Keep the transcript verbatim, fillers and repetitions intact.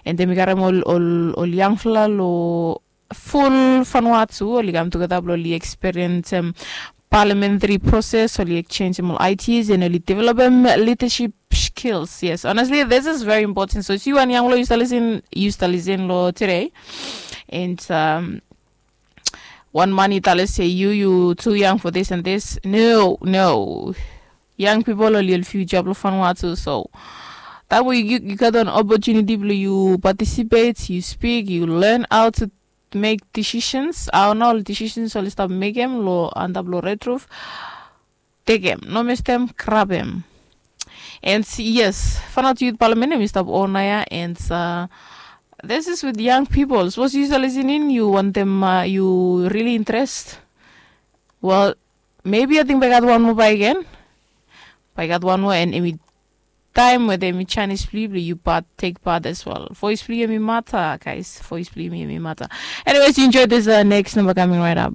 And em i karem ol ol ol yangfala lo ful fanua tu, oli kam tugeta blo oli eksperiensem parliamentary proses, oli ekchenjem ol ideas and oli developem leadership skills. Yes, honestly, this is very important. So si wan yangfala yu stalisin yu stalisin lo today, and um, wan man i tale se yu yu too young for this and this. No, no. Young people oli ol future blo fanua tu. So that way you, you got an opportunity blo you participate, you speak, you learn how to make decisions. Aona ol decisions oli stap mekem lo antap lo red roof. Tekem, no mestem, grabem. And yes, fanua tu youth parliament em i stap ona ya. And uh, this is with young people. Suppose you are listening, you want them uh, you really interest. Well, maybe I think by God one more by again. By God one more and emi time with emi Chinese people you part take part as well. Voice play emi matter, guys. Voice play emi matter. Anyways, you enjoy this uh, next number coming right up.